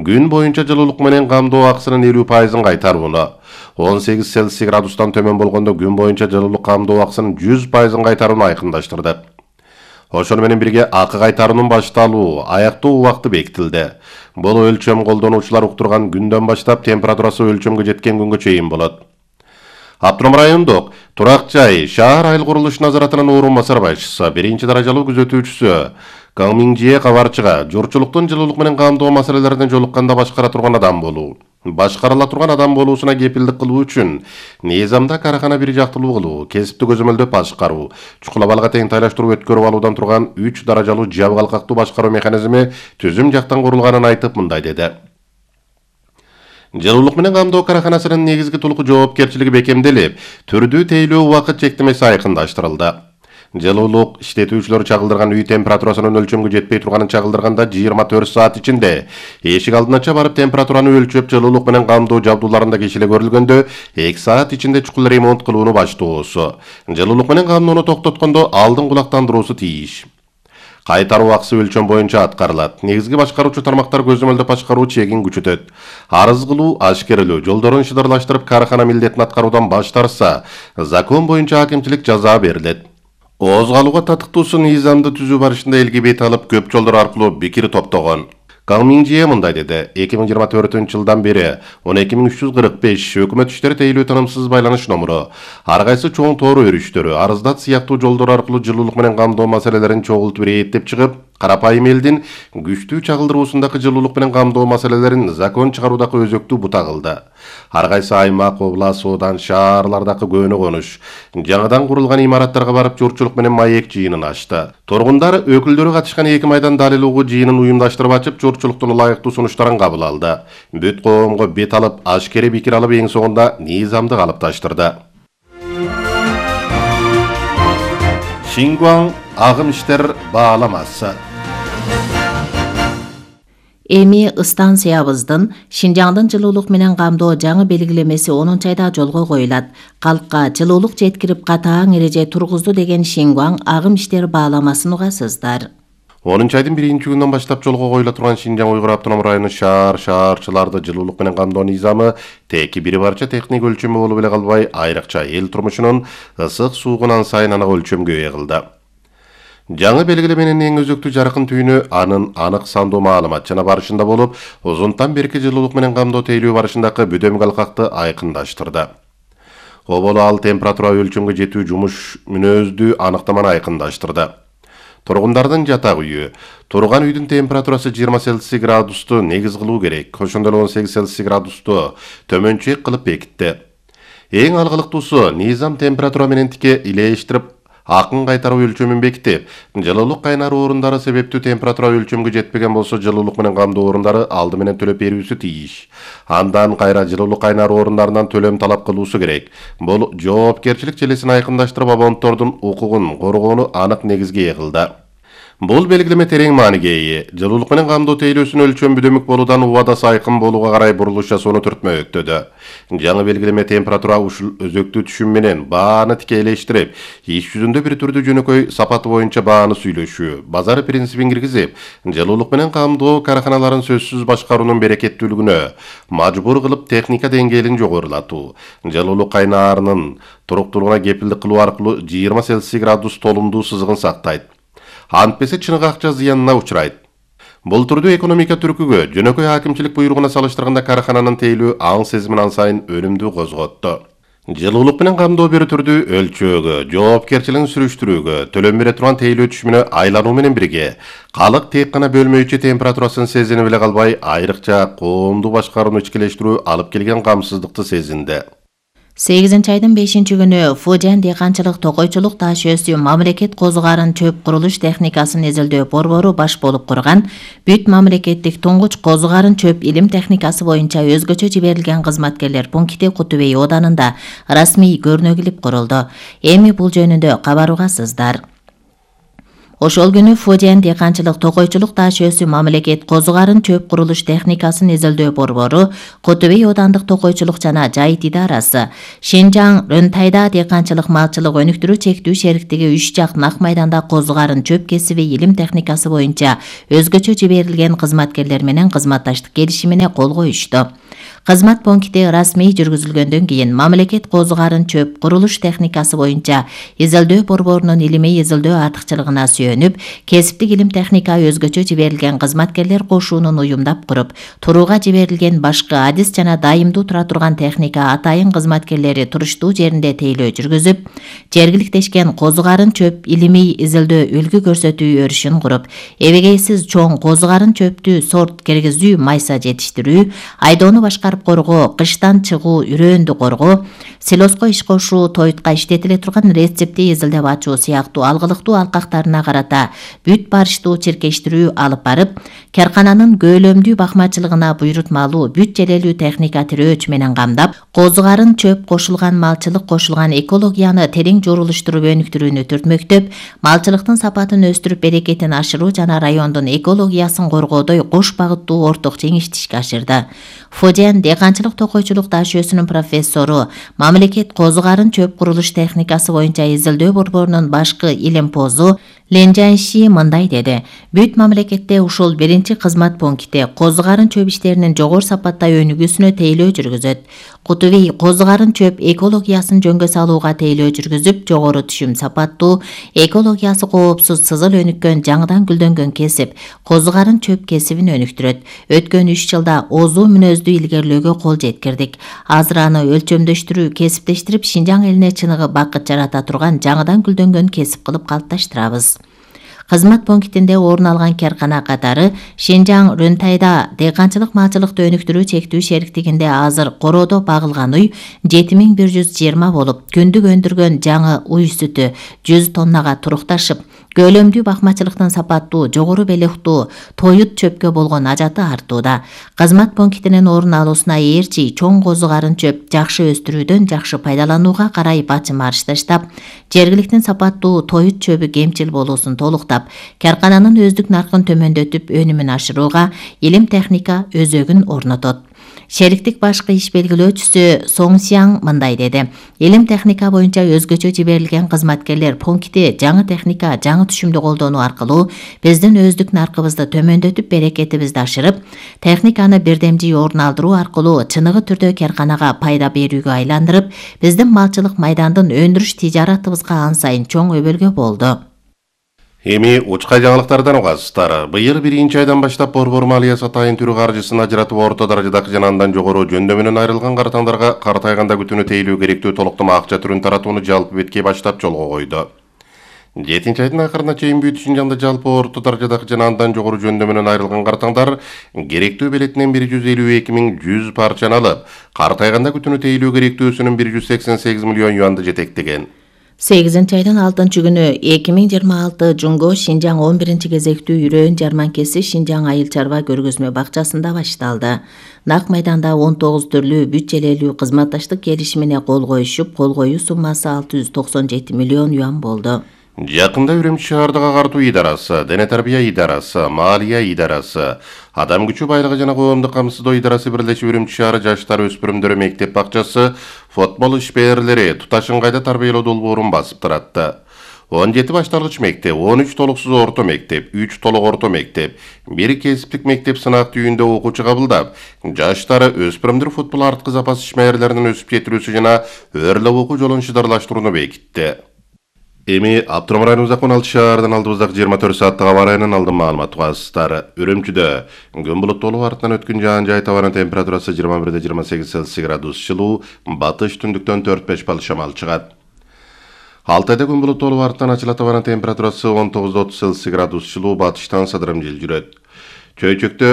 Күн боюнча жылуулук менен камдоо акысынын 50% кайтарууну, 18 Цельсий градустан төмөн болгондо күн боюнча жылуулук камдоо акысынын 100% кайтарууну айкындаштырды. Ошону менен бирге акы кайтаруунун башталуу, аяктоо убакыты бекитилди. Бул өлчөм колдонуучулар уктурган күндөн баштап температурасы өлчөмгө жеткен күнгө чейин болот. Автоном райондук турак жай шаар айыл курулуш назаратынын орун басар башчысы, 1-даражалуу күзөтүүчүсү Каңмиңжие кабарчыга журчулуктун жылуулук менен камдоо маселелерине жолукканда башкара турган адам болуу, башкарыла турган адам болуусуна кепилдик кылуу үчүн низамда карахана бир жактылуу кылуу, кесипти көзөмөлдөп башкаруу, чукул абалга тең тайлаштыруу өткөрүп алуудан турган 3 даражалуу жабык алкактуу башкаруу механизми түзүм жактан курулганын айтып мындай деди. Жылуулук менен камдоо караханасынын негизги толук жоопкерчилиги бекемделип, түрдүү тейлөө убакыт чектемеси айкындаштырылды. Жылуулук иштетүүчүлөр чагылдырган үй температурасынын өлчөмгө жетпей турганын чагылдырганда 24 саат ичинде эшик алдынача барып температураны өлчөп, жылуулук менен камдоо жабдууларында кичиле көрүлгөндө 2 саат ичинде чукул ремонт кылууну баштоосу, жылуулук менен камдоону токтоткондо алдын кулактандыруусу тийиш. Кайтаруу акысы өлчөм боюнча аткарылат. Негизги башкаруучу тармактар көзөмөлдөп башкаруу чегин күчөтөт. Арыз кылуу, ашкерелөө, жолдорун шыдырлаштырып карахана милдетин аткаруудан баш тартса, закон боюнча акимчилик жаза берилет. Ооз калууга татыктуусу низамды түзүү барышында элге бет алып, көп жолдор аркылуу пикир топтогон. Каңмиңжие мындай деди. 2024-жылдан бери 12345 өкмөт иштери тейлөө тынымсыз байланыш номуру, ар кайсы чоң тоор өрүштөрү, арыздат сыяктуу жолдор аркылуу жылуулук менен камдоо маселелерин чогултуп иреттеп чыгып, карапайым элдин күчтүү чагылдыруусундагы жылуулук менен камдоо маселелерин закон чыгаруудагы өзөктүү бута кылды. Ар кайсы аймак, област, одан, шаарлардагы көөнө конуш, жаңадан курулган имараттарга барып журчулук менен маек жыйынын ачты. Тургундар өкүлдөрү катышкан 2 майдан далил угуу жыйынын уюмдаштырып ачып, журчулуктун ылайыктуу сунуштарын кабыл алды. Бүт коомго бет алып, ашкере пикир алып, эң соңунда низамды калыпташтырды. Шингуан агым иштер бааламасы. Эми станциябыздын Шинжаңдын жылуулук менен камдоо жаңы белгилемеси 10-айда жолго коюлат. Калкка жылуулук жеткирип катаң эреже тургузду деген Шингуан агым иштер бааламасын угасыздар. 10-айдын 1-күнүнөн баштап жолго коюла турган Шинжаң Уйгур автоном району шаарчыларды жылуулук менен камдоо низамы теки бир барча техник өлчөмү болуп эле калбай, айрыкча эл турмушунун ысык суугунан сайын аны өлчөмгө ээ кылды. Жаңы белгилеменин эң өзөктүү жаркын түйүнү анын анык сандуу маалыматчана барышында болуп, узунтан берки жылуулук менен камдоо тейлөө барышындагы бүдөмк алкакты айкындаштырды. Оболу ал температура өлчөмгө жетүү жумуш мүнөздүү аныктаманы айкындаштырды. Тургундардын жатак үйү, турган үйдүн температурасы 20 Цельсий градусту негиз кылуу керек, ошондой 18 Цельсий градусту төмөнчөөк кылып бекитти. Эң алгылыктуусу низам температура менен тике илештирип акын кайтаруу өлчөмүн бекитип, жылуулук кайнаруу орундары себептүү температура өлчөмгө жетпеген болсо, жылуулук менен камдоо орундары алды менен төлөп берүүсү тийиш. Андан кайра жылуулук кайнаруу орундарынан төлөм талап кылуусу керек. Бул жоопкерчилик желесин айкындаштырып, абоненттордун укугун коргоону анык негизге ээ кылды. Бул белгилеме терең мааниге ээ. Жылуулук менен камдоо тейлөөсүн өлчөм бүдөмүк болуудан убадасы айкын болууга карай бурулуш жасоону түртмөктөдү. Жаңы белгилеме температура ушул өзөктүү түшүм менен бааны тикейлештирип, иш жүзүндө бир түрдүү жөнөкөй сапаты боюнча бааны сүйлөшүү, базар принцибин киргизип, жылуулук менен камдоо караханаларын сөзсүз башкаруунун берекеттүүлүгүнө мажбур кылып, техника деңгээлин жогорулатуу, жылуулук кайнаарынын туруктуулугуна кепилдик кылуу аркылуу 20 Цельсий градус толумдуу сызыгын сактайт. Антпесе чыныгы акча зыянына учурайт. Бул түрдүү экономика түркүгө жөнөкөй акимчилик буйругуна салыштырганда карахананын тейлөө аң сезимин ан сайын өнүмдүү козготту. Жылуулук менен камдоо бир түрдүү өлчөөгө, жоопкерчилигин сүрүштүрүүгө, төлөм бере турган тейлөө түшүмүнө айлануу менен бирге, калык тек гана бөлмөйчү температурасын сезинип эле калбай, айрыкча коомдуу башкарууну ичкилештирүү алып келген камсыздыкты сезинди. 8-айдын 5-күнү Фужан дыйканчылык токойчулук таш өсүү мамлекет козугарын чөп курулуш техникасын эзелдөө борбору баш болуп курган бүт мамлекеттик туңгуч козугарын чөп илим техникасы боюнча өзгөчө жиберилген кызматкерлер пункти Кутубей оданында расмий көрнөгүлүп курулду. Эми бул жөнүндө кабар угасыздар. Ошол күнү Фужен дыйканчылык токойчулук таш өсүү мамлекет козугарын чөп курулуш техникасын изилдөө борбору, Котубей оодандык токойчулук жана жайыт идарасы, Шинжаң Рөнтайда дыйканчылык малчылык өнүктүрүү чектүү шериктиги 3 жак нак майданда козугарын чөп кесиби илим техникасы боюнча өзгөчө жиберилген кызматкерлер менен кызматташтык келишимине кол коюшту. Кызмат пункти расмий жүргүзүлгөндөн кийин мамлекет козугарын чөп курулуш техникасы боюнча изилдөө борборунун илимий изилдөө артыкчылыгына сүйөнүп, кесиптик илим техника өзгөчө жиберилген кызматкерлер кошуунун уюмдап куруп, турууга жиберилген башкы адис жана дайымдуу тура турган техника атайын кызматкерлери туруштуу жеринде тейлөө жүргүзүп, жергиликтешкен козугарын чөп илимий изилдөө үлгү көрсөтүү өрүшүн куруп, эбегейсиз чоң козугарын чөптү сорт киргизүү, майса жетиштирүү, айдоону башкарып коргоо, кыштан чыгуу, үрөөндү коргоо, силоско иш кошуу, тойтка иштетиле турган рецепти изилдеп ачуу сыяктуу алгылыктуу алкактарына карата бүт барыштуу чиркештирүү алып барып, каркананын көөлөмдүү бакмачылыгына буйрутмалуу бүт желелүү техника тирөөч менен камдап, козугарын чөп кошулган малчылык кошулган экологияны терең жорулуштуруп өнүктүрүүнү түртмөктөп, малчылыктын сапатын өстүрүп берекетин ашыруу жана райондун экологиясын коргоодой кош багыттуу орток жеңиштишке ашырды. Фужен дыйканчылык токойчулук таш өсүүнүн профессору, мамлекет козугарын чөп курулуш техникасы боюнча изилдөө борборунун башкы илимпозу Ленжанши мындай деди: бүт мамлекетте ушул биринчи кызмат пункти козугарын чөп иштеринин жогору сапатта өнүгүүсүнө тейлөө жүргүзөт. Кутубей козугарын чөп экологиясын жөнгө салууга тейлөө жүргүзүп, жогору түшүм сапаттуу, экологиясы коопсуз сызыл өнүккөн жаңыдан гүлдөнгөн кесип, козугарын чөп кесибин өнүктүрөт. Өткөн 3 жылда озуу мүнөздүү илгерлөөгө кол жеткирдик. Азыр аны өлчөмдөштүрүү, кесиптештирип, Шинжаң элине чыныгы бакыт жарата турган жаңыдан гүлдөнгөн кесип кылып калыпташтырабыз. Кызмат пунктинде орун алган каркана катары Шинжаң Рөнтайда дыйканчылык малчылыкты өнүктүрүү чектүү шериктигинде азыр короодо багылган уй 7120 болуп, күндүк өндүргөн жаңы уй сүтү 100 тоннага турукташып, көөлөмдүү бакмачылыктын сапаттуу, жогору белектүү, тоют чөпкө болгон ажаты артууда. Кызмат пунктинин орун алуусуна ээрчи чоң козугарын чөп жакшы өстүрүүдөн жакшы пайдаланууга карай бачым арыш таштап, жергиликтин сапаттуу тоют чөбү кемчил болуусун толуктап, каркананын өздүк наркын төмөндөтүп, өнүмүн ашырууга илим техника өзөгүн орнотот. Шериктик башкы иш белгилөөчүсү Соңсяң мындай деди: илим техника боюнча өзгөчө жиберилген кызматкерлер пункти жаңы техника, жаңы түшүмдү колдонуу аркылуу биздин өздүк наркыбызды төмөндөтүп, берекетибизди ашырып, техниканы бирдемжий орун алдыруу аркылуу чыныгы түрдө карканага пайда берүүгө айландырып, биздин малчылык майдандын өндүрүш тижаратыбызга ансайын чоң өбөлгө болду. Эми учкай жаңылыктардан угасыздар. Быйыл 1-айдан баштап борбор малиясы атайын түрү каржысын ажыратып орто даражадагы жана андан жогору жөндөмүнөн айрылган картаңдарга картайганда күтүүнү тейлөө керектүү толуктама акча түрүн таратууну жалпы бетке баштап жолго койду. 7-айдын акырына чейин бүт Шинжаңда жалпы орто даражадагы жана андан жогору жөндөмүнөн айрылган картаңдар керектүү белетинен 152.100 парчаны алып, картайганда күтүүнү тейлөө керектүүсүнүн 188 миллион юанды жетектеген. 8-айдын 6-күнү 2026 Жунго Шинжаң 11-кезектүү үрөөн жарманкеси Шинжаң айыл чарба көргөзмө бакчасында башталды. Нак майданда 19 түрлүү бүт желелүү кызматташтык келишимине кол коюшуп, кол коюу суммасы 697 миллион юан болду. Жакында Үрөмчү шаардык агартуу идарасы, дене тарбия идарасы, малия идарасы, адам күчү байлыгы жана коомдук камсыздоо идарасы бирлешип Үрөмчү шаары жаштар өспүрүмдөр мектеп бакчасы футбол ишмерлери туташыңгайда тарбиялоо долбоорун басып таратты. 17 башталгыч мектеп, 13 толуксуз орто мектеп, 3 толук орто мектеп, 1 кесиптик мектеп сынак түйүндө окуучу кабылдап, жаштары өспүрүмдөр футбол арткы запас ишмерлеринин өсүп жетилүүсү жана өрлөп окуу жолун шыдарлаштырууну бекитти. Эми Аптоном районунун Акман шаарынан алдыбыздагы 24 сааттык аба ырайынын алдын маалымат угасыздар. Үрөмчүдө күн булуттуу артынан өткөн жаан-жай абанын температурасы 21-28 Цельсий градус жылуу, батыш түндүктөн 4-5 балл шамал чыгат. Алтайда күн булуттуу артынан ачылат абанын температурасы 19-30 Цельсий градус жылуу, батыштан садырым жел жүрөт. Чөйчөктө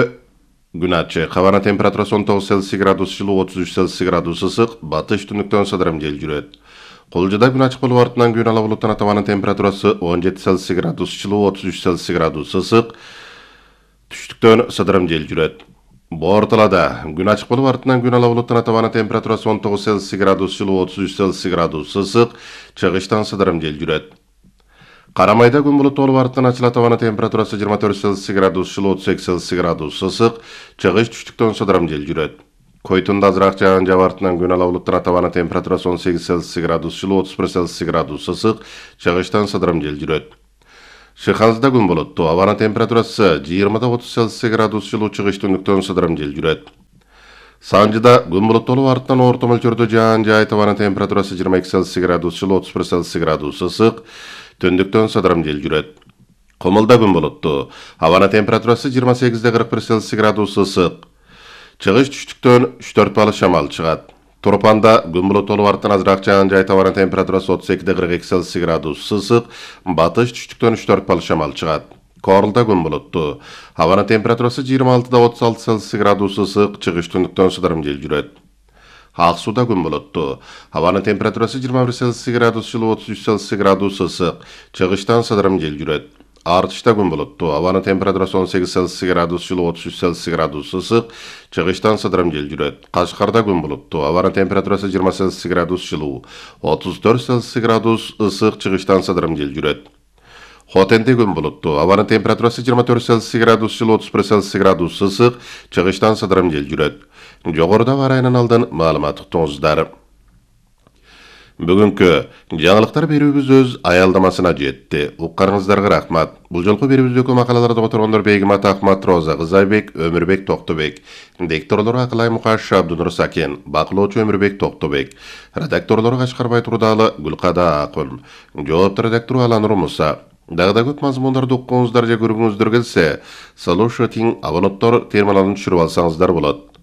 күн ачык, абанын температурасы 19 Цельсий градус жылуу, 33 Цельсий градус ысык, батыш түндүктөн садырым жел жүрөт. Колжуда күн ачык болуп артынан күн ала булуттан атабанын температурасы 17 Цельсий градус жылуу, 33 Цельсий градус ысык, түштүктөн садырым жел жүрөт. Борталада күн ачык болуп артынан күн ала булуттан атабанын температурасы 19 Цельсий градус жылуу, 33 Цельсий градус ысык, чыгыштан садырым жел жүрөт. Карамайда күн булуттуу болуп арттан ачылат, абанын температурасы 24 Цельсий градус жылуу, 38 Цельсий градус ысык, чыгыш түштүктөн сыдырым жел жүрөт. Койтунда азыраак жаан жаап артынан күн ала булуттан абанын температурасы 18 Цельсий градус жылуу, 31 Цельсий градус ысык, чыгыштан сыдырым жел жүрөт. Шыхансда күн булуттуу, абанын температурасы 20-30 Цельсий градус жылуу, чыгыш түндүктөн сыдырым жел жүрөт. Санжыда күн булуттуу болуп арттан орто мөлчөрдө жаан жаайт, абанын температурасы 22 Цельсий градус жылуу, 31 Цельсий градус ысык, түндүктөн сыдырым жел жүрөт. Комулда күн булуттуу, абанын температурасы 28-41 Цельсий градус ысык, чыгыш түштүктөн 3-4 балык шамал чыгат. Турпанда күн булуттуу болуп арттан азыраак жаан жаайт, абанын температурасы 32-42 Цельсий градус ысык, батыш түштүктөн 3-4 балык шамал чыгат. Корулда күн булуттуу, абанын температурасы 26-36 Цельсий градус ысык, чыгыш түндүктөн сыдырым жел жүрөт. Ак сууда күн булуттуу, абанын температурасы 21 Цельсий градус жылуу, 33 Цельсий градус ысык, чыгыштан сыдырым жел жүрөт. Артышта күн булуттуу, абанын температурасы 18 Цельсий градус жылуу, 33 Цельсий градус ысык, чыгыштан сыдырым жел жүрөт. Кашкарда күн булуттуу, абанын температурасы 20 Цельсий градус жылуу, 34 Цельсий градус ысык, чыгыштан сыдырым жел жүрөт. Хотенде күн булуттуу, абанын температурасы 24 Цельсий градус жылуу, 31 Цельсий градус ысык, чыгыштан сыдырым жел жүрөт. Жогоруда барайынан алдын маалымат уктуңуздар. Бүгүнкү жаңылыктар берүүбүз өз аялдамасына жетти. Укканыңыздарга рахмат. Бул жолку берүүбүздөгү макалаларды которгондор Бегимат Акмат, Роза Кызайбек, Өмүрбек Токтобек. Дикторлору Акылай Мукаш, Абдунур Сакен, бакылоочу Өмүрбек Токтобек. Редакторлору Кашкарбай Турдалы, Гүлкада Акын. Жоопту редактору Аланур Муса. Дагы да көп мазмундарды уккуңуздар же көргүңүздөр келсе, слушатиң абоненттор терминалын түшүрүп алсаңыздар болот.